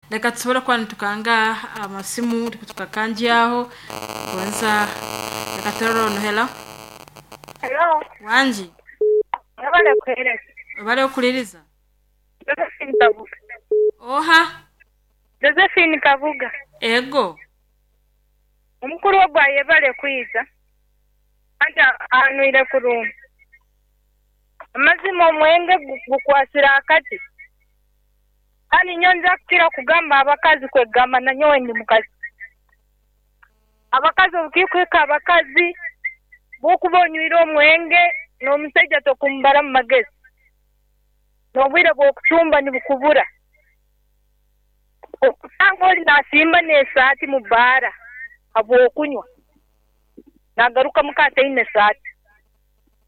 Reka tusobole kuba nitukanga amasimu tukakanjyaho gonza. Reka turore ono. Hello. Hello, Wangi. mwebale kuhereza. Obale okuliriza. Josephine Kabuga. Oha. Josephine Kabuga. Ego. Omukulu ogwo ayebale kwiza. Anti anwire kurungi. Amazima omwenge gukwasira akati. Kandi nyo nza kukira kugamba abakazi kwegamba na nyowe ndi mukazi. Abakazi obukikweka abakazi bwokuba onywire omwenge n'omusajja tokumubara mu magezi. N'obwire bw'okucumba nibukubura. Okusanga oli nasimba n'esaati mu bbaara habw'okunywa. Nagaruka muka ataine esaati.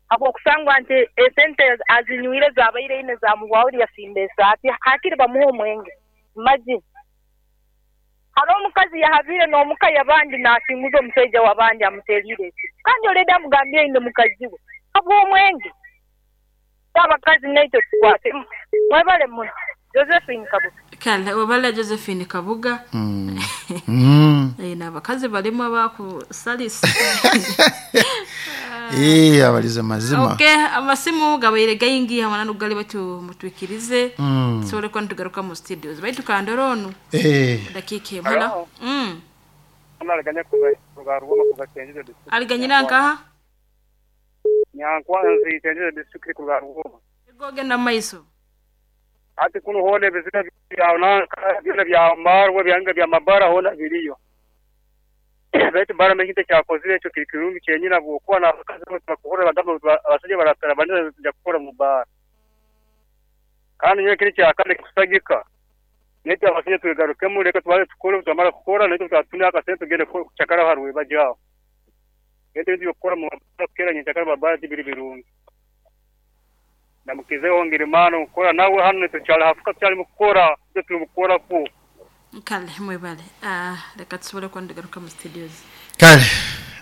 Habw'okusangwa nti esente azinywire zabaire ine zamuhwaho yasimba esaati hakiri bamuhe omwenge. Imagine. Hariho omukazi yahabire n'omuka y'abandi nasinguza omusaija w'abandi amuteriire esimu. Kandi already amugambire aine mukazi we habw'omwenge. Abakazi naitwe tukwatemu. Mwebale muno. Josephine Kabuga. Kale obale Josephine Kabuga. Eh, n'abakazi balimu abakusalisa. Eh, abalize mazima. Okay, amasimu gabaire gaingi hamwe nugali batu mutwikirize tusobole kuba nitugaruka mu studios baitu kandoro onu. Eh, dakika emwe. Hello. Aliganya kuva kuva kuva Chenjeje district. Aliganyira nkaha. Nyankwanzi, Chenjeje district, kuva Rwoma. Ego, genda mu maiso. Ati kuno hona ebizina bya nanka byona bya marwe byanga bya mabara hona biriyo. Baitu bara mekintu kyakozire ekyo kiri kirungi kyenyina bwokuba n'abakazi bakuhura bagamba abasajja baratara banene tujja kukora mu bara. Kandi nyowe kiri kyakane kusagika. Naitwe abasajja twegarukemu, reka tubanze tukore, twamara kukora naitwe twatune akasente tugende kucakara haruwe bajyaho. Naitwe ebintu byokukora mu mabara kukera nyencakara mabara tibiri birungi. Namukizeho ngirimano kukora nawe hano tukyali hafuka tukyali mu kukora ibyo turi mukukora ku. Kale mwebale. Ah, reka tusobole kuba nitugaruka mu studios. Kale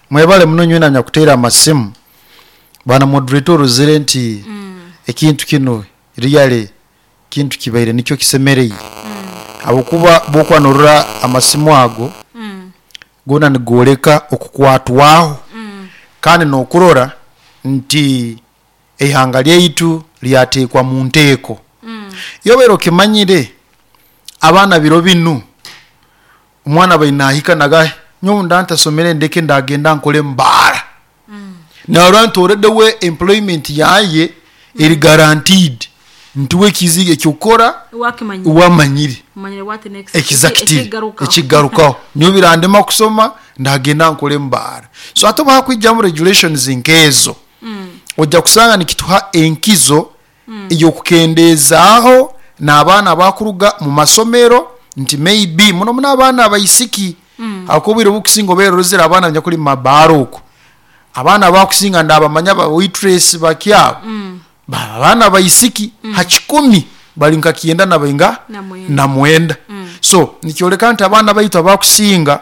mwebale muno nywena nyakuteera amasimu. Bwana moderator, orozere nti ekintu kino really kintu kibaire nikyo kisemereire, habwokuba bwokuba norora amasimu ago gona nigoleka okukwatwaho kandi nokurora nti eihanga lyaitu lyateekwa mu nteeko. Yobeera okimanyire abaana biro binu omwana bainahika naga nyowe nda ntasomere ndeke ndagenda nkole mbaara narora nti already we employment yaye eri guaranteed nti we ekiziga ekyokukora wakimanyire wamanyire manyire what next. Exactly. Ekigarukaho. Ekigarukaho nyo birandema kusoma ndagenda nkole mbaara. So ate oba hakwijamu regulations nkezo ojja kusanga nikituha enkizo ey'okukendezaaho n'abaana abakuruga mu masomero nti maybe muno muno abaana abaisiki mm. Obwire obukusinga obeera orozere abaana banyakuli mu mabaara okwo, abaana bakusinga ndabamanya ba waitress bakyabo abaana abaisiki ha 100 bali nka 90 na bainga Na mwenda. Na mwenda. So nikyoleka nti abaana baitu abakusinga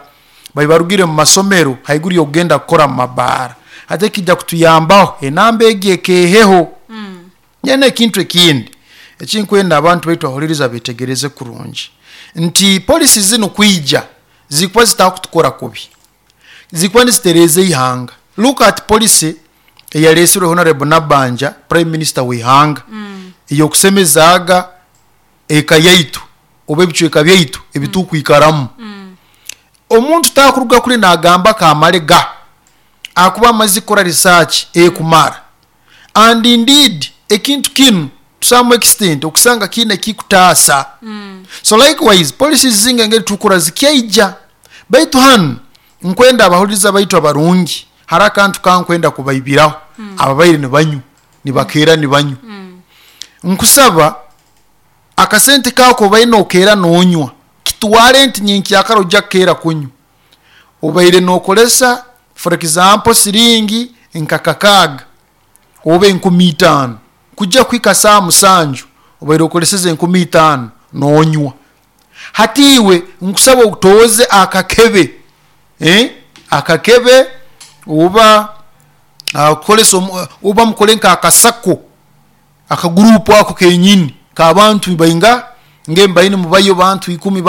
bali barugire mu masomero haiguru y'okugenda kukora mu mabaara, ate kijja kutuyambaho enamba egi ekeheho. Nyene ekintu ekindi ekinkwenda abantu baitu ahuliriza betegereze kurungi nti policy zinu kwija zikuba zitakutukora kubi, zikuba nizitereza ihanga. Look at policy eyalesirwe Honorable Nabanja, prime minister w'ihanga, eyokusemezaaga eka yaitu oba ebicweka byaitu ebitukwikaramu. Omuntu takuruga kuri nagamba kamale ga akuba amaze kukora research ekumara, and indeed ekintu kinu to some extent okusanga kiine ekikutaasa. So likewise policies zinga engeri tukura zikyaija. Baitu hanu nkwenda abahuliriza baitu abarungi hari akantu kankwenda kubaibiraho ababaire nibanywa nibakeera nibanywa. Nkusaba akasente kako obaire nokeera nonywa kitware nti nyenkyakara ojja kukeera kunywa. Obaire nokolesa for example siringi nka 6,000 oba 5,000 kujja kuhika saa 7 obaire okoleseze 5,000 nonywa. Hati iwe nkusaba otoze akakebe, eh? Akakebe oba kukolesa oba mukole nka akasako akagurupu ako kenyini kabantu bainga ngembaini mubayo bantu 10 bantu.